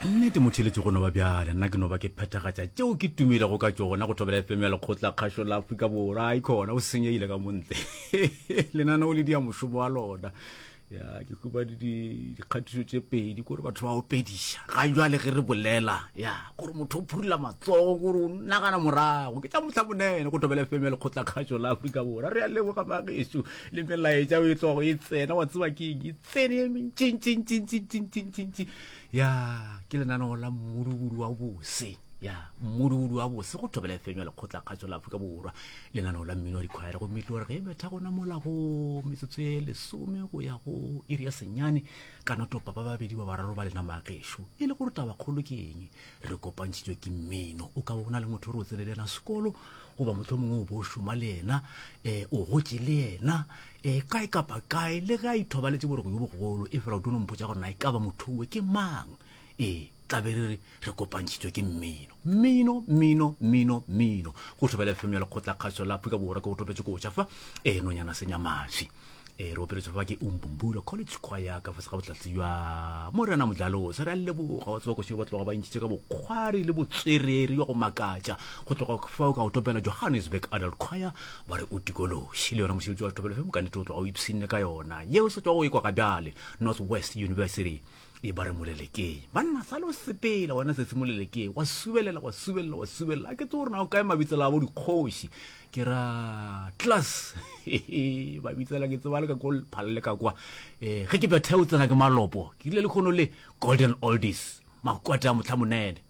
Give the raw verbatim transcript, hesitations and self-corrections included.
Nnete motheeletši go no ba bjale, nna ke no ba ke phethagatša tšeo ke tumilego ka tšona go Thobela F M ya Lekgotla Kgašo la Afrika Borwa. Aikhona o senyegile ka montle. Lenaneo le dia mošomo wa lona. Ya, ke hubane di dikgatišo tše pedi kore batho ba opediša. Ga jwale ge re bolela, ya, gore motho o phurula matsogo kore o nagana morago. Ke tša mohla monene go Thobela F M ya Lekgotla Kgašo la Afrika Borwa. Re a leboga magešo le melaetša o e tlogo e tsena, wa tseba ke eng, e tsene e mentšintšintšintšintšintšintši. Ya, ke lenaneo la mmudubudu wa bose. Ya, mmudubudu wa bose go Thobela F M ya Lekgotla Kgašo la Afrika Borwa. Lenaneo la mmino wa dikhwaere gomme tlo re ge betha gona mola go metsotso e lesome go ya go iri ya senyane ka notopa ba babedi ba bararo ba lena magešo. E le gore tabakgolo ke eng? Re kopantšhitšwe ke mmino. O ka bona le motho o re o tsene le yena sekolo goba mohlomongwe o bo šoma le yena, eh, o gotše le yena, eh, kae kapa kae, le ge a ithobaletše boroko jo bogolo, e fela o tlo no mpotša gore na e ka ba motho owe ke mang. Ee, tla be re re re kopantšhitšwe ke mmino. Mmino, mmino, mmino, mmino. Go Thobela F M ya Lekgotla Kgašo la Afrika Borwa ke go topetše koša fa, eh, nonyana senyamaši. Eh, re opeletše fa ke Umbumbula College Choir ka fase ga bohlatse bja Morena Mdlalose. Re a leboga, wa tseba koša ba tloga ba ntšhitše ka bokgwari le botswerere bja go makatša. Go tloga fao ka go topela Johannesburg Adult Choir ba re o tikološi. Le yona mošebetši wa Thobela F M ka nnete o tloga o ipshinne ka yona. Yeo se tloga o ekwa ga bjale North West University e ba re molelekeng. Banna sale o sepela wena se se molelekeng, wa subelela, wa subelela, wa subelela. A ke tsebe gore na o kae mabitsela a bo dikgoši. Ke ra class. Mabitsela ke tseba le ka ko phalele ka kwa. Eh, ge ke betha o tsena ke malopo. Ke rile lekgono le Golden Oldies, makwate a mohla monene.